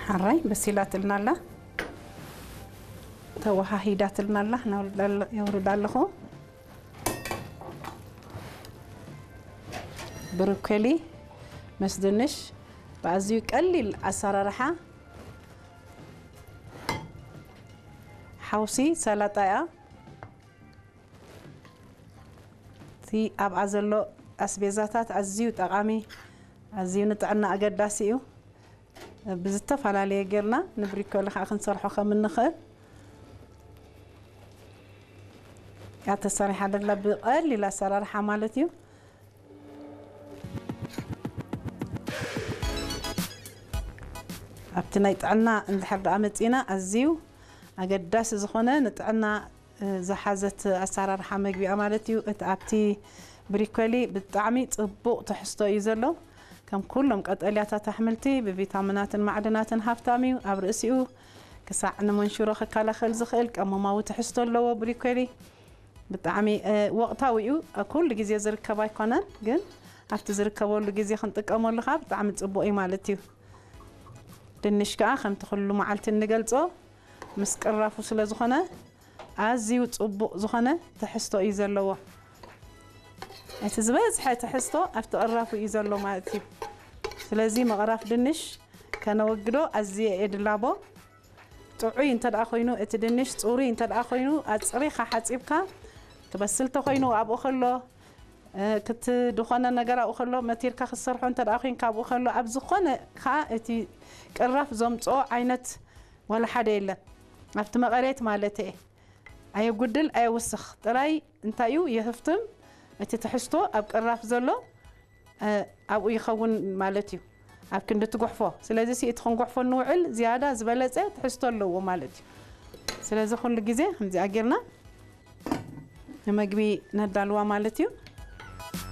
ሕራይ በሲላትልና ኣላ፣ ተወሃሂዳትልና ኣላ። የውርዳ ኣለኹ። ብሮኮሊ ምስ ድንሽ ብኣዝዩ ቀሊል ኣሰራርሓ ሓውሲ ሰላጣ እያ። እቲ ኣብኣ ዘሎ ኣስቤዛታት ኣዝዩ ጠቓሚ፣ ኣዝዩ ንጥዕና ኣገዳሲ እዩ። ብዝተፈላለየ ጌርና ንብሪኮሊ ከዓ ክንሰርሖ ከም እንኽእል እያ ተሰሪሓ ደላ፣ ብቐሊል ኣሰራርሓ ማለት እዩ። ኣብቲ ናይ ጥዕና እንድሕር ደኣ መፂና፣ ኣዝዩ ኣገዳሲ ዝኾነ ንጥዕና ዝሓዘት ኣሰራርሓ መግቢኣ ማለት እዩ። እቲ ኣብቲ ብሪኮሊ ብጣዕሚ ጽቡቕ ትሕዝቶ እዩ ዘሎ። ከም ኩሎም ቀጠልያታት ኣሕምልቲ ብቪታሚናትን ማዕድናትን ሃብታም እዩ። ኣብ ርእሲኡ ክሳዕ ንመንሽሮ ክከላኸል ዝኽእል ቀመማዊ ትሕዝቶ ኣለዎ። ብሪኮሊ ብጣዕሚ ወቕታዊ እዩ። ኩሉ ግዜ ዝርከብ ኣይኮነን፣ ግን ኣብቲ ዝርከበሉ ግዜ ክንጥቀመሉ ከዓ ብጣዕሚ ጽቡቕ እዩ ማለት እዩ። ድንሽ ከዓ ከምቲ ኩሉ መዓልቲ እንገልጾ ምስ ቅራፉ ስለ ዝኾነ ኣዝዩ ጽቡቕ ዝኾነ ትሕዝቶ እዩ ዘለዎ። እቲ ዝበዝሐ ትሕዝቶ ኣብቲ ቅራፉ እዩ ዘሎ ማለት እዩ። ስለዚ ምቕራፍ ድንሽ ከነወግዶ ኣዝየ እየ ድላቦ። ጥዑይ እንተ ደኣ ኮይኑ፣ እቲ ድንሽ ጽሩይ እንተ ደኣ ኮይኑ፣ ኣጽሪኻ ሓጺብካ፣ ክበስል ተኾይኑ ኣብኡ ከሎ፣ እ፣ ክት-፣ ዝኾነ ነገር ኣብኡ ከሎ፣ መቲርካ ክትሰርሖ እንተ ደኣ ኮይንካ ኣብኡ ከሎ፣ ኣብ ዝኾነ ከኣ እቲ ቅራፍ ዘምጽኦ ዓይነት ዋላ ሓደ የለን። ኣብቲ መቐሬት ማለት እየ። ኣየጉድል፣ ኣየውስኽ። ጥራይ እንታይ እዩ የህፍትም፣ እቲ ትሕዝቶ ኣብ ቅራፍ ዘሎ፣ እ፣ ኣብኡ ይኸውን ማለት እዩ። ኣብ ክንዲ ትጉሕፎ። ስለዚ ሲ እቲ ክንጉሕፎ ንውዕል ዝያዳ ዝበለጸ ትሕዝቶ ኣለዎ ማለት እዩ። ስለዚ ኩሉ ግዜ ከምዚኣ ጌርና ንመግቢ ነዳልዋ ማለት እዩ።